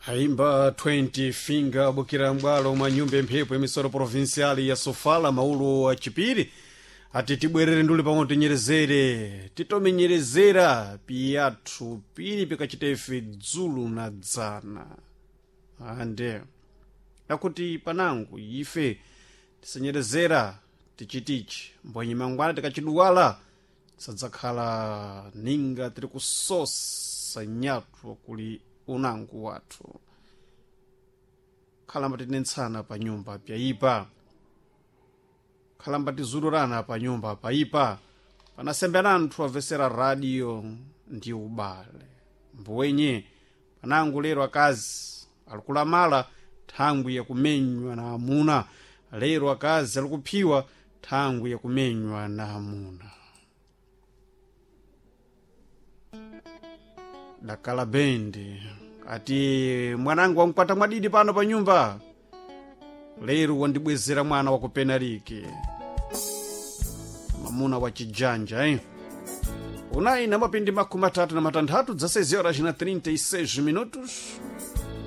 Aimba 20 Finger bukira m'bwalo mwa nyumba emphepo emisoro provincial ya Sofala maulo achipiri ati tibwerere nduli pamwe tinyerezere titomenyerezera piyathu pili pikachitefe dzulu na dzana ande akuti panangu ife tisanyerezera tichitichi mbwenye mangwana tikachiduwala sadzakhala ninga tiri kusosa nyatwa kuli unangu wathu khalamba tinentsana pa nyumba pyayipa khalamba tizulurana pa nyumba payipa panasembera anthu amvesera radio ndi ubale mbuwenye panangu lero akazi alikulamala thangwi yakumenywa na amuna lero akazi alikuphiwa thangwi yakumenywa na amuna dakala bendi ati mwanangu wamkwata mwadidi pano pa nyumba lero wandibwezera mwana wa kupenariki mamuna wa chijanja eh? Unayi na mapindi 36 16 horas na 36 minutos.